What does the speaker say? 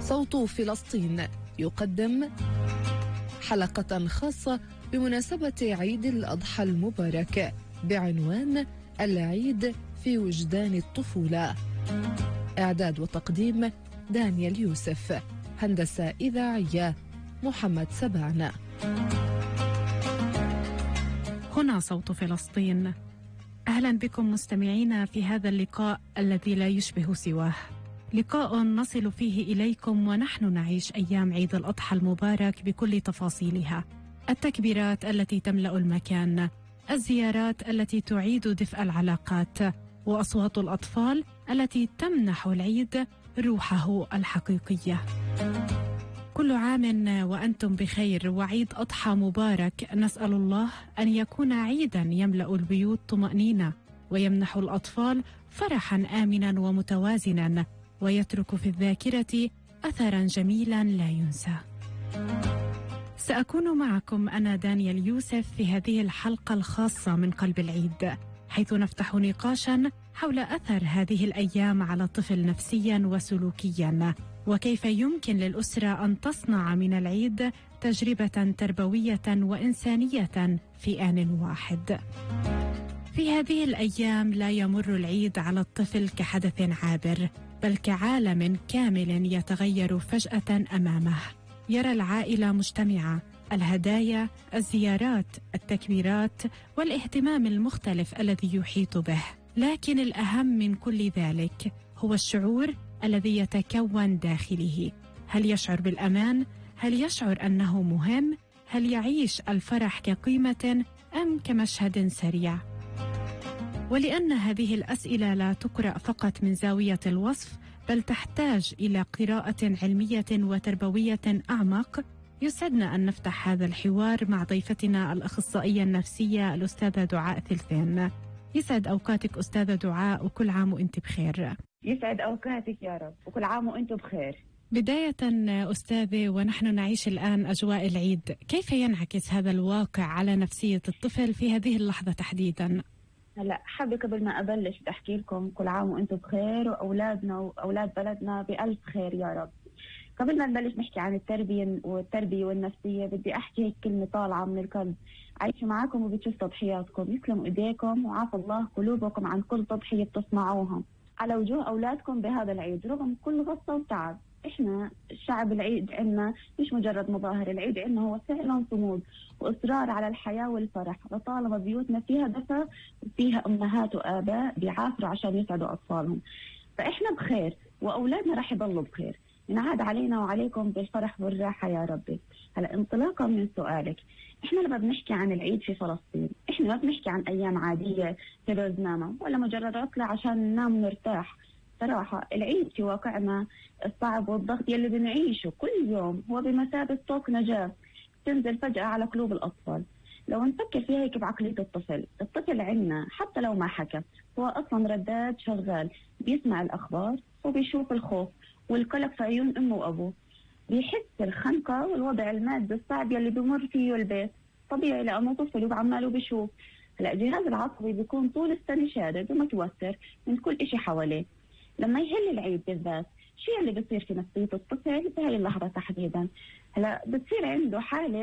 صوت فلسطين يقدم حلقة خاصة بمناسبة عيد الأضحى المبارك بعنوان العيد في وجدان الطفولة. إعداد وتقديم دانيال يوسف، هندسة إذاعية محمد سبعنا. هنا صوت فلسطين. أهلا بكم مستمعينا في هذا اللقاء الذي لا يشبه سواه، لقاء نصل فيه إليكم ونحن نعيش أيام عيد الأضحى المبارك بكل تفاصيلها، التكبيرات التي تملأ المكان، الزيارات التي تعيد دفء العلاقات، وأصوات الأطفال التي تمنح العيد روحه الحقيقية. كل عام وأنتم بخير وعيد أضحى مبارك. نسأل الله أن يكون عيدا يملأ البيوت طمأنينة ويمنح الأطفال فرحا آمنا ومتوازنا ويترك في الذاكرة أثرا جميلا لا ينسى. سأكون معكم أنا دانيال يوسف في هذه الحلقة الخاصة من قلب العيد، حيث نفتح نقاشا حول أثر هذه الأيام على الطفل نفسيا وسلوكيا، وكيف يمكن للأسرة أن تصنع من العيد تجربة تربوية وإنسانية في آن واحد. في هذه الأيام لا يمر العيد على الطفل كحدث عابر، بل كعالم كامل يتغير فجأة أمامه. يرى العائلة مجتمعة، الهدايا، الزيارات، التكبيرات والاهتمام المختلف الذي يحيط به، لكن الأهم من كل ذلك هو الشعور الذي يتكون داخله. هل يشعر بالأمان؟ هل يشعر أنه مهم؟ هل يعيش الفرح كقيمة أم كمشهد سريع؟ ولأن هذه الأسئلة لا تقرأ فقط من زاوية الوصف، بل تحتاج إلى قراءة علمية وتربوية أعمق، يسعدنا أن نفتح هذا الحوار مع ضيفتنا الأخصائية النفسية الأستاذة دعاء ثلثين. يسعد أوقاتك أستاذة دعاء، وكل عام وأنت بخير. يسعد أوقاتك يا رب، وكل عام وأنتم بخير. بداية أستاذة، ونحن نعيش الآن أجواء العيد، كيف ينعكس هذا الواقع على نفسية الطفل في هذه اللحظة تحديدا؟ هلا حابة قبل ما أبلش أحكي لكم كل عام وأنتم بخير، وأولادنا وأولاد بلدنا بألف خير يا رب. قبل ما نبلش نحكي عن التربية والنفسية، بدي أحكي هيك كلمة طالعة من القلب. عايشة معاكم وبتشوف تضحياتكم، يسلم إيديكم وعافى الله قلوبكم عن كل تضحية بتصنعوها على وجوه أولادكم بهذا العيد رغم كل غصة وتعب. إحنا الشعب العيد عنا مش مجرد مظاهر، العيد عنا هو فعلا صمود وإصرار على الحياة والفرح، وطالما بيوتنا فيها دفى وفيها أمهات وآباء بيعافروا عشان يسعدوا أطفالهم، فإحنا بخير وأولادنا رح يضلوا بخير. ينعاد علينا وعليكم بالفرح والراحة يا ربي. هلا انطلاقا من سؤالك، احنا لما بنحكي عن العيد في فلسطين، احنا ما بنحكي عن ايام عادية في روزنامة ولا مجرد عطلة عشان ننام ونرتاح. صراحة العيد في واقعنا الصعب والضغط يلي بنعيشه كل يوم هو بمثابة طوق نجاة تنزل فجأة على قلوب الأطفال. لو نفكر فيها هيك بعقلية الطفل عنا حتى لو ما حكى، هو أصلا رداد شغال، بيسمع الأخبار وبيشوف الخوف والقلق في عيون أمه وأبوه، بيحس الخنقة والوضع المادي الصعب يلي بمر فيه البيت. طبيعي لأنه طفل وعماله بيشوف. هلا جهاز العصبي بيكون طول السنة شادد ومتوتر من كل إشي حواليه. لما يهل العيد بالذات، شو اللي بصير في نفسية الطفل بهاي اللحظة تحديدا؟ هلا بتصير عنده حالة